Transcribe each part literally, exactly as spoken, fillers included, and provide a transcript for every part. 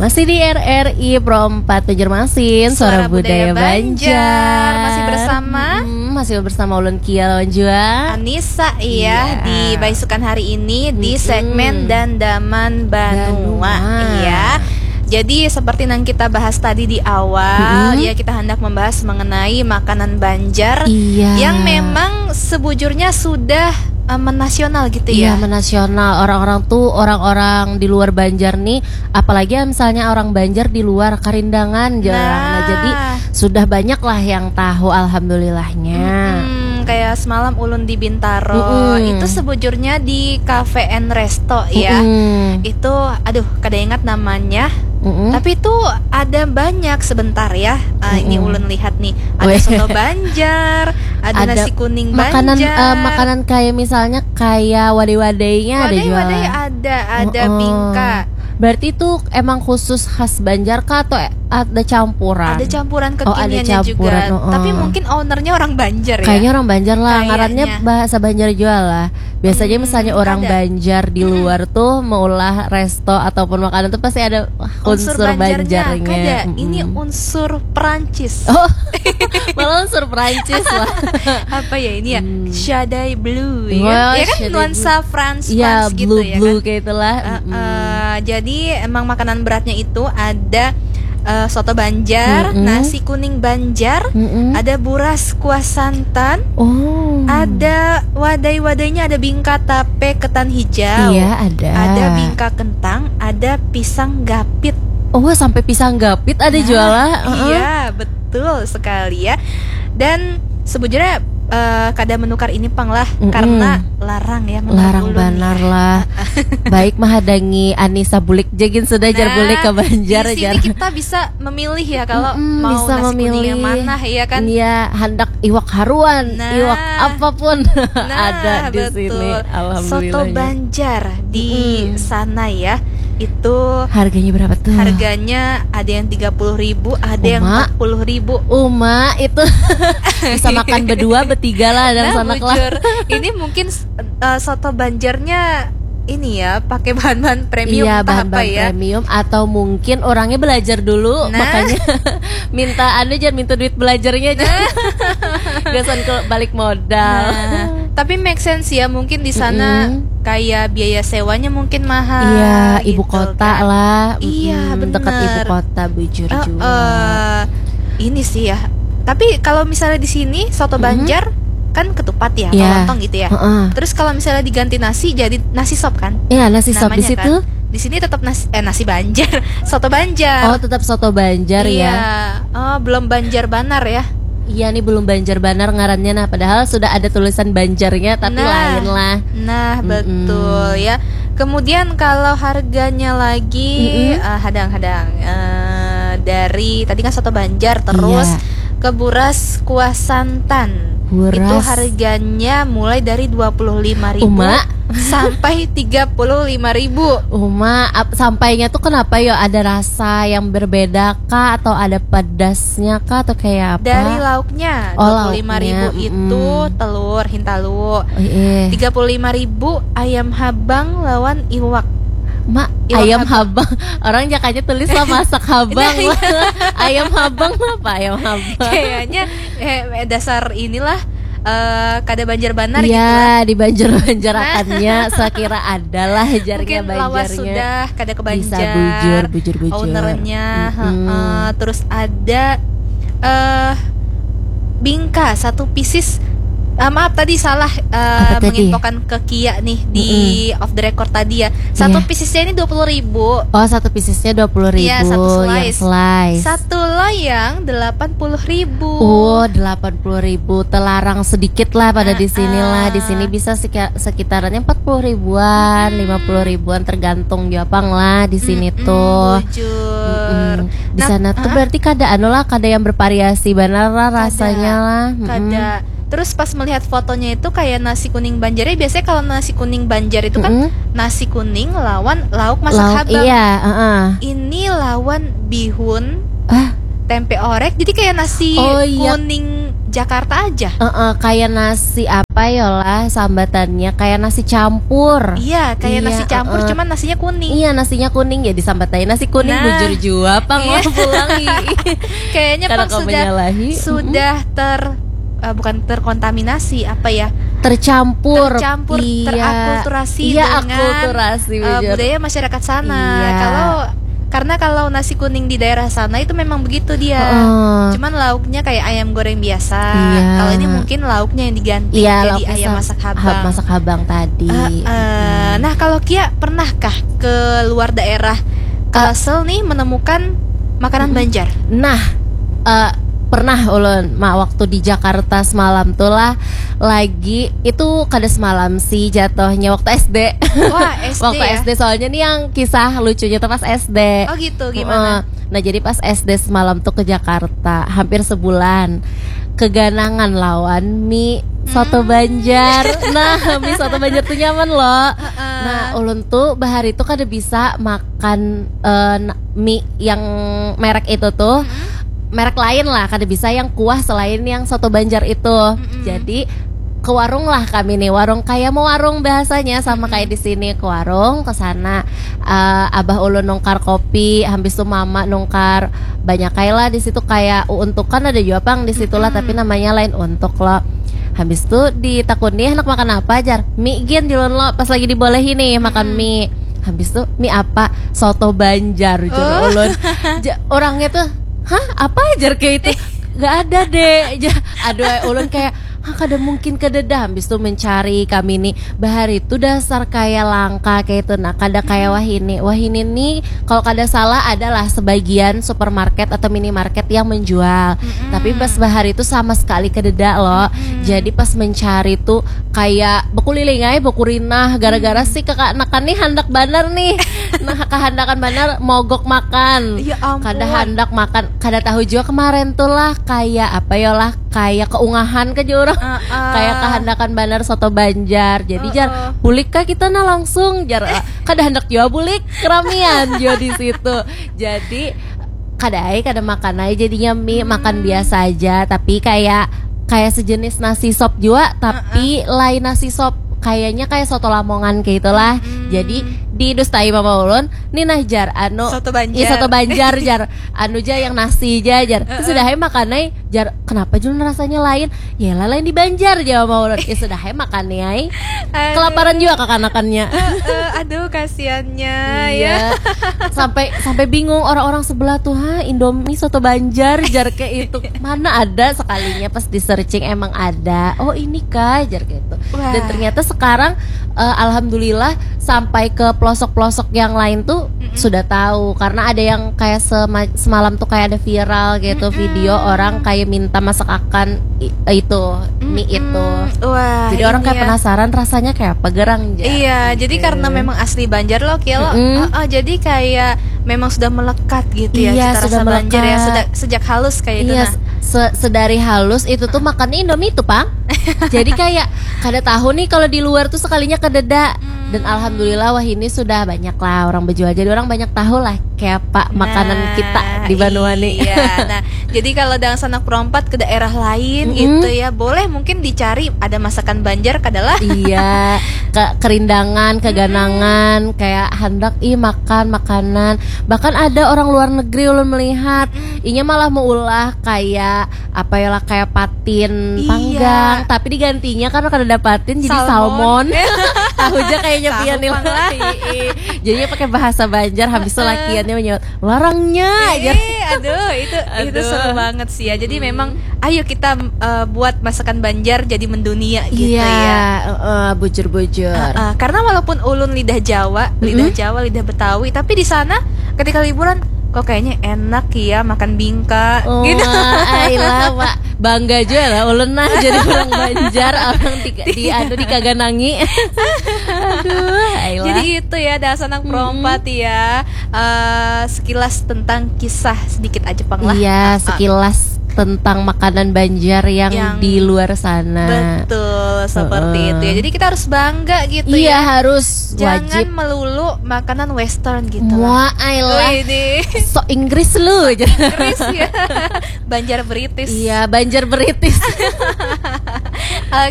Masih di R R I Pro empat Banjarmasin, Suara Budaya Banjar. Masih bersama? Hmm, masih bersama ulun Kia lawan jua Anissa, iya, di baisukan hari ini di segmen Dandaman Banua, iya. Jadi seperti yang kita bahas tadi di awal, ya, kita hendak membahas mengenai makanan Banjar yang memang sebujurnya sudah eh, menasional gitu ya. Iya, menasional. Orang-orang tuh, orang-orang di luar Banjar nih, apalagi misalnya orang Banjar di luar Karindangan, jarang. Nah, jadi sudah banyak lah yang tahu, alhamdulillahnya. Hmm, kayak semalam ulun di Bintaro, itu sebujurnya di Cafe and Resto ya. Itu, aduh, kada ingat namanya. Tapi itu ada banyak sebentar ya. Ah, ini ulun lihat nih, ada soto Banjar, ada nasi kuning Banjar. Makanan, eh, makanan kayak misalnya kayak wadai-wadainya ada jualan. Wadai-wadai ada, ada bingka. Berarti itu emang khusus khas Banjar kah atau ada campuran? Ada campuran kekiniannya juga. Tapi mungkin ownernya orang Banjar ya. Kayaknya orang Banjar lah, ngarannya bahasa Banjar juga lah. Biasanya misalnya orang Banjar di luar tuh maulah resto ataupun makanan tuh pasti ada unsur Banjarnya. Kada, ini unsur Perancis. Oh, malah unsur Perancis lah. Apa ya ini ya? Shadai Blue ya. Ya kan nuansa France, France gitu ya kan. Blue kayak itulah. Eh, jadi emang makanan beratnya itu ada eh, soto Banjar, nasi kuning Banjar, ada buras kuah santan, ada wadai-wadainya, ada bingka tape ketan hijau, iya, ada bingka kentang, ada pisang gapit. Oh, sampai pisang gapit ada jualan. Iya, betul sekali ya. Dan sebujurnya eh, kada menukar ini pang lah, karena larang ya menurut ulun. Larang banar lah. Baik mahadangi Anissa bulik jagin sudah jar bulik ke Banjar jar. Nah, di sini kita bisa memilih ya kalau mau nasi kuning yang mana ya kan. Iya, handak iwak haruan, iwak apapun ada di sini. Alhamdulillah. Soto Banjar di sana ya. Itu harganya berapa tuh? Harganya ada yang tiga puluh ribu, ada yang empat puluh ribu. Uma, itu bisa makan berdua, bertiga lah, dan nah, sanak lah. Ini mungkin eh, soto Banjarnya ini ya, pakai bahan-bahan premium, iya, entah bahan-bahan apa ya. Premium, atau mungkin orangnya belajar dulu, nah, makanya minta anu, jangan minta duit belajarnya aja. Nah. Gasan ke balik modal. Nah, tapi make sense ya, mungkin di sana kayak biaya sewanya mungkin mahal. Iya, gitu, ibu kota kan. Lah. Iya, mm, dekat ibu kota, bujur juga. Eh, ini sih ya. Tapi kalau misalnya di sini soto Banjar kan ketupat ya, iya, atau lontong gitu ya. Heeh. Terus kalau misalnya diganti nasi jadi nasi sop kan? Iya, nasi sop di situ. Di sini tetap nasi, eh, nasi Banjar, soto Banjar. Oh, tetap soto Banjar ya. Iya. Oh, belum Banjar banar ya. Iya nih, belum Banjar banar ngarannya. Nah, padahal sudah ada tulisan Banjarnya, tapi lain lah. Nah, betul ya. Kemudian kalau harganya lagi, eh, hadang-hadang, eh, dari tadi kan soto Banjar, terus ke buras kuah santan. Itu harganya mulai dari dua puluh lima ribu sampai tiga puluh lima ribu. Uma, ap-, sampainya tuh kenapa yo? Ada rasa yang berbeda kah, atau ada pedasnya kah, atau kayak apa? Dari lauknya, oh, dua puluh lima ribu lauknya, itu telur hintalu. Oh, iya. Tiga puluh lima ribu ayam habang lawan iwak. Mak, iwak ayam habang. Habang. Orang jakanya tulis lah masak habang. Nah, iya. Ayam habang apa ayam habang? Kayaknya eh, dasar inilah eh, kada Banjar banar gitu lah. Iya, di Banjar-Banjarakannya sakira adalah jarnya Banjarnya. Mungkin lawas sudah kada ke Banjar. Bisa bujur, bujur, bujur. Ownernya, heeh. Terus ada eh bingka satu pieces. Eh, maaf tadi salah eh, menginfokan ke Kia nih di off the record tadi ya. Satu piecesnya ini dua puluh ribu. Oh, satu piecesnya dua puluh ribu. Iya, satu slice. Yang slice. Satu loyang delapan puluh ribu. Oh, delapan puluh ribu. Telarang sedikit lah pada di sini lah. Di sini bisa seki-, sekitarannya empat puluh ribuan, lima puluh ribuan, tergantung jua pang lah di sini tuh. Bujur. Di sana tuh berarti kada anu lah, kada yang bervariasi banar lah rasanya lah. Kada. Terus pas melihat fotonya itu kayak nasi kuning Banjarnya. Biasanya kalau nasi kuning Banjar itu kan nasi kuning lawan lauk masak habang. Iya, heeh. Ini lawan bihun, tempe orek. Jadi kayak nasi kuning Jakarta aja. Heeh, kayak nasi apa ya lah sambatannya, kayak nasi campur. Iya, kayak Iya, nasi campur, heeh. Cuman nasinya kuning. Iya, nasinya kuning, jadi sambatannya nasi kuning. Nah. Bujur jua pang Iya. Pulang, ih. Kayaknya Karena pang kau sudah menyalahi. sudah ter eh, bukan terkontaminasi, apa ya? Tercampur. Tercampur, Iya. terakulturasi Iya, dengan akulturasi, eh, bujur. Budaya masyarakat sana. Iya. Kalau karena kalau nasi kuning di daerah sana itu memang begitu dia. Heeh. Cuman lauknya kayak ayam goreng biasa. Iya. Kalau ini mungkin lauknya yang diganti Iya, jadi lauknya ayam sa- masak ha- habang. Masak habang tadi. Heeh. Nah, kalau Kia pernahkah keluar daerah Kalsel nih menemukan makanan Banjar? Nah, eh, pernah ulun ma waktu di Jakarta semalam tuh lah, lagi itu kada semalam sih jatuhnya, waktu S D. Wah, S D Waktu ya? S D, soalnya nih yang kisah lucunya tuh pas S D. Oh gitu, gimana? Heeh. Nah, jadi pas S D semalam tuh ke Jakarta hampir sebulan, keganangan lawan mie soto Hmm. Banjar. Nah, mie soto Banjar tuh nyaman loh. Nah, ulun tuh bahari tuh kada bisa makan eh, na- mie yang merek itu tuh. Merek lain lah, kada bisa yang kuah selain yang soto Banjar itu. Jadi ke warung lah kami nih, warung kayak mau warung bahasanya, sama kayak di sini, ke warung, ke sana. Eh, abah ulun nungkar kopi, habis tuh mama nungkar banyak kayak lah di situ, kayak uuntukan ada juga pang di situ lah, tapi namanya lain untuk loh. Habis tuh ditakuni, "Handak makan apa?" jar. "Mie gin," jar ulun lo, pas lagi dibolehi nih makan mie. Habis tuh, "Mie apa?" "Soto Banjar," jar ulun. Ja- orangnya tuh, "Hah, apa?" jar kayak itu. "Gak ada, Dek." Ja- aduh, ulun kayak, "Hah, kada mungkin, kada dah." Habis tuh mencari kami nih, bahari tuh dasar kayak langka kayak itu, nah, kada kayak wahini. Wahini nih, kalau kada salah, adalah sebagian supermarket atau minimarket yang menjual. Tapi pas bahari tuh sama sekali kadeda loh. Jadi pas mencari tuh kayak bekuliling aja, bekurinah, gara-gara si kakanakan nih handak banar nih. Nah, kahandakan banar mogok makan. Ya ampun. Kada handak makan, kada tahu juga kemarin tuh lah kayak apa ya lah, kayak keungahan ke orang. Heeh. Kayak kahandakan banar soto Banjar. Jadi jar, "Bulik kah kita nah langsung?" Jar, "Kada handak jua bulik, keramian jua di situ." Jadi kada ai, kada makan ai jadinya mie, makan biasa aja, tapi kayak kayak sejenis nasi sop jua, tapi lain nasi sop, kayaknya kayak soto Lamongan kayak itulah. Jadi didustai mama ulun, "Nih nah," jar, "anu, Soto Banjar. Iya, soto Banjar," jar, "anu ja yang nasi ja," jar. Terus sudah ai makan ai, jar, "Kenapa Jun rasanya lain?" "Ya lah, lain di Banjar," jawab mama ulun. Ya sudah ai makan nih ai. Aduh. Kelaparan juga kakanakannya. Eh, eh, aduh, kasihannya ya. Iya. Sampai sampai bingung orang-orang sebelah tuh, "Ha, Indomie soto Banjar," jar kayak itu. Mana ada, sekalinya pas di searching emang ada. "Oh, ini kah?" jar kayak itu. Wah. Dan ternyata sekarang eh, alhamdulillah sampai ke pelosok-pelosok yang lain tuh sudah tahu, karena ada yang kayak sema- semalam tuh kayak ada viral gitu, video orang kayak minta masak akan i- itu, mie itu. Wah, Jadi orang ini kayak ya. Penasaran rasanya kayak apa gerang, jar. Iya, jadi karena memang asli Banjar loh, Kia, loh. Mm-mm. Heeh, jadi kayak memang sudah melekat gitu ya, Iya, cita sudah rasa Banjar ya, melekat. sudah sejak halus kayak itu. Iya, Nah. se- sedari halus itu tuh makannya Indomie tuh, Pang. Jadi kayak kada tahu nih kalau di luar tuh sekalinya kadeda. Dan alhamdulillah, wah, ini sudah banyak lah orang berjual. Jadi orang banyak tahu lah kayak apa makanan Nah, kita di Banua nih. Iya. Nah, jadi kalau dangsanak perompat ke daerah lain Mm-mm. gitu ya, boleh mungkin dicari ada masakan Banjar kadalah. Iya, ke kerindangan, keganangan, kayak handak ih makan makanan. Bahkan ada orang luar negeri ulun melihat, inya malah meulah kayak apa ya lah, kayak patin Iya. panggang, tapi digantinya karena kada ada patin jadi Salmon. Salmon. Tahu aja kayaknya Tahu pian nih pang lah. lah. Iya. Jadinya pakai bahasa Banjar, habis itu lakiannya menyebut larangnya aja. Ih, aduh, itu itu Aduh. seru banget sih ya. Jadi memang ayo kita eh, buat masakan Banjar jadi mendunia gitu Iya, ya. Heeh, bujur-bujur. Heeh, karena walaupun ulun lidah Jawa, lidah Jawa, lidah Betawi, tapi di sana ketika liburan kok kayaknya enak ya makan bingka Oh, gitu. Ayolah, Pak. Bangga juga lah ulun nah jadi orang Banjar, orang di, di anu, dikaganangi. Aduh, ayolah. Jadi itu ya, dasar nang perompat ya. Eh, sekilas tentang kisah sedikit aja pang lah. Iya, Ah, ah. Sekilas tentang makanan Banjar yang, Yang di luar sana. Betul, seperti Heeh. itu ya. Jadi kita harus bangga gitu Iya, ya. Harus Jangan wajib. Melulu makanan western gitu lah. Wah, ayolah. Wih, di So Inggris lu aja. Inggris ya. Banjar British. Iya, Banjar British.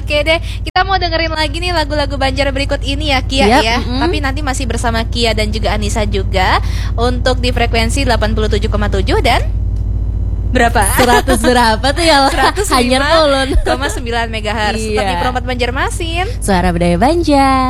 Oke deh, kita mau dengerin lagi nih lagu-lagu Banjar berikut ini ya, Kia, Yap, ya. Mm-mm. Tapi nanti masih bersama Kia dan juga Anissa juga untuk di frekuensi delapan puluh tujuh koma tujuh dan berapa? Seratus berapa tuh ya? Seratus Hanyar ulun. Koma sembilan megahertz. Tetap di Iya. Pro empat Banjarmasin. Suara budaya Banjar.